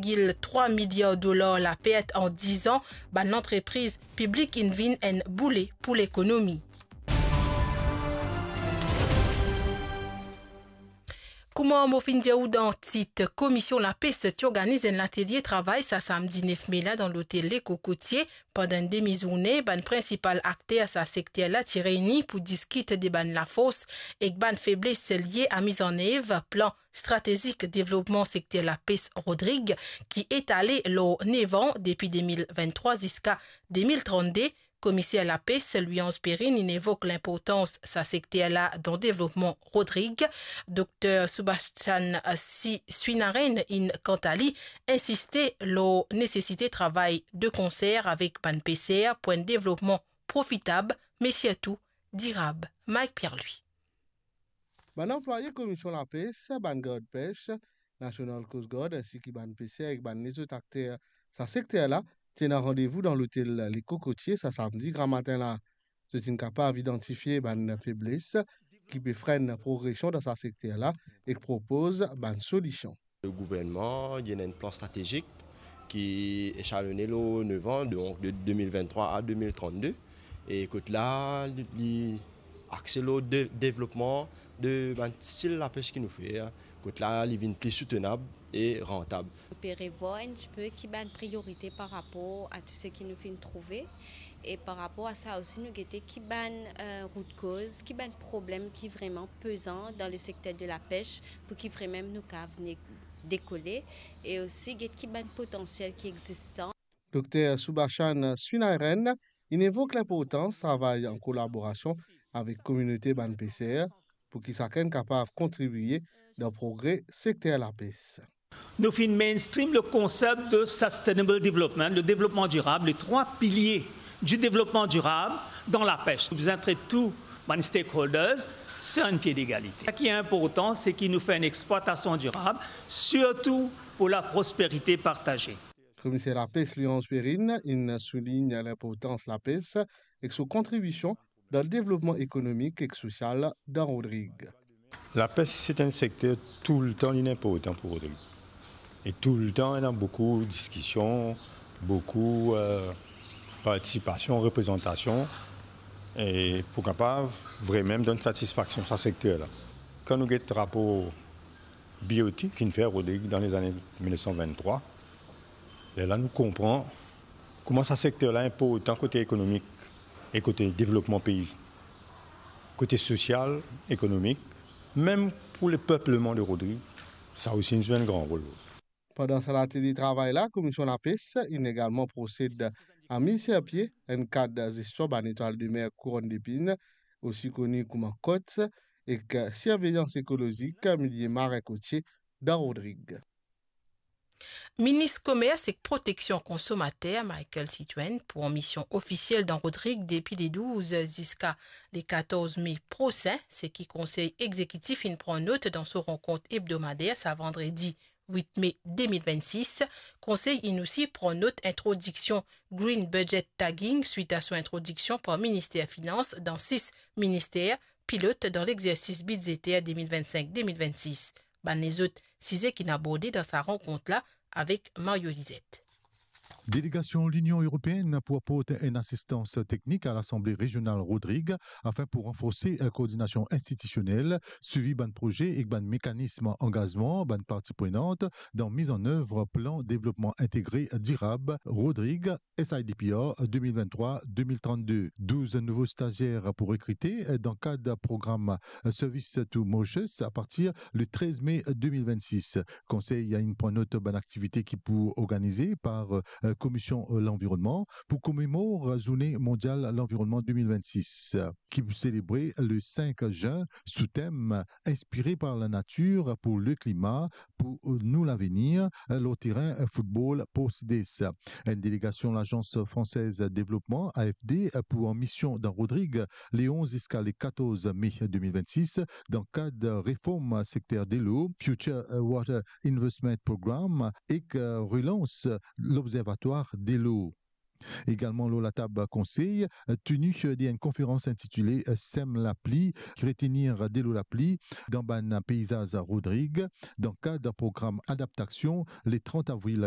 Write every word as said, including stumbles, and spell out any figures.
Gil trwa miliar dolar lapert an diz an, bann lantrepriz piblik inn vinn enn boule pou lekonomi. Kouma mo finn dir ou dan tit, Komisyon Lapes ti organiz enn latelie travay sa samdi nef me la dan lotel Le Cocotier. Pandan enn demi-zourne, bann prinsipal akter sa sekter la ti reyni pou diskit de bann lafors ek bann febles lie a mizanev plan stratezik devlopman sekter lapes Rodrig, ki etale lor nef an, depi de mil vinn-trwa ziska de mil trannde. Komiser lapes Louis-Ange Perrine inn evok linportans sa sekter la dan devlopman Rodrig. Dokter Subhashan Si-, Srinarenna inn kanta li insiste lor nesesite travay de konser avek bann peser pou enn devlopman profitab, me sirtou dirab. Mike Pierre-Louis. Bann anplwaye Komisyon Lapes, bann gard pes, National Coast Guard, ensi ki bann peser ek bann lezot akter sa sekter la, ti ena randevou dan lotel Le Cocotier sa samdi gramatin la. Zot inn kapav idantifie bann febles ki pe frenn progresion dan sa sekter la ek propoz bann solision. Le gouvernman, li ena enn plan stratezik ki esalone lor nef an, donk de de mil vinn-trwa a de mil trannde, e kot la, li, li axe lor de, devlopman de bann stil lapes ki nou fer, kot la, li vinn pli soutenab e rantab. Nou pe revwar enn tipe ki bann priyorite par rapor a tou seki nou finn trouve. E par rapor a sa osi, nou gete ki bann, eh, rout koz, ki bann problem ki vreman pezan dan le sekter de lapes pou ki vreman nou kav ne-, dekole, e osi get ki bann potansiel ki egzistan. Dokter Subhashan Srinarenna inn evok linportans travay an kolaborasion avek kominote bann peser pou ki sakenn kapav kontribie dan progre sekter lapes. Nou finn mainstream le konsep de sustainable development, le devlopman dirab, le trwa pilie du devlopman dirab dan lapes. Nou bizin tret tou bann stakeholders sur un pied d'égalité. Seki inportan, se ki nou fer enn explwatasion dirab, sirtou pou la prosperite partaze. Komiser lapes Louis-Ange Perrine inn soulign linportans lapes ek so kontribision dan devlopman ekonomik ek sosial dan Rodrig. Lapes, se enn sekter toultan li inportan pou Rodrig. E toultan, ena boukou diskision, boukou, eh, partisipasion, reprezantasion, e pou kapav vreman donn satisfaksion sa sekter la. Kan nou get rapor B O T ki finn fer Rodrig dan lezane mil nef san vinn-trwa, lerla nou konpran kouma sa sekter la inportan kote ekonomik e kote devlopman pei, kote sosial, ekonomik, mem pou lepepleman de Rodrig, sa osi inn zwe enn gran rol. Pandan sa latelie travay la, Komisyon Lapes inn egalman prosed a miz sir pie enn kad zestion bann etwal de mer Couronne d'Épines, osi koni kouma COTS, ek sirveyans ekolozik milie marin kotie dan Rodrig. Minis Komers ek Proteksion Konsomater, Michaël Citroën, pou an mision ofisiel dan Rodrig depi le douz ziska le katorz me prosin, seki Konsey Egzekitif inn pran not dan so rankont ebdomader sa vandredi wit me de mil vennsis. Konsey inn osi pran not introdiksion Green Budget Tagging swit a so introdiksion par Minister Finans dan sis minister pilot dan lexersis bidzeter de mil vennsink de mil vennsis. Bann lezot size ki'nn aborde dan sa rankont la avek Mario Lizette. Delegasion Linion Eropeenn pou aport enn asistans teknik a Lasanble Rezional Rodrig afin pou ranforse koordinasion institisionel, swivi bann proze ek bann mekanism angazman bann parti prenant dan miz an ev plan devlopman integre dirab Rodrig S I D P R de mil venntrwa de mil trannde. Douz nouvo stazier pou rekrite dan kad program Service to Mauritius apartir le trez me de mil vennsis. Konsey inn pran not bann aktivite ki pou organize par, eh, Komisyon Lanvironnman pou komemor Zourne Mondyal Lanvironnman de mil vennsis, ki pou selebre le sink zin sou tem Inspiré par la nature pour le climat, pour nous l'avenir, lor terin foutbol Porcides. Enn delegasion Lagans Fransez Devlopman, A F D, pou an mision dan Rodrig, le onz ziska le katorz me de mil vennsis, dan kad reform sekter delo, Future Water Investment Program, ek relans Lobzervatwar Delo. Egalman lor latab konsey, teni de enn konferans intitile Sem lapli, retenir delo lapli dan bann peizaz Rodrig, dan kad program adaptasion, le trant avril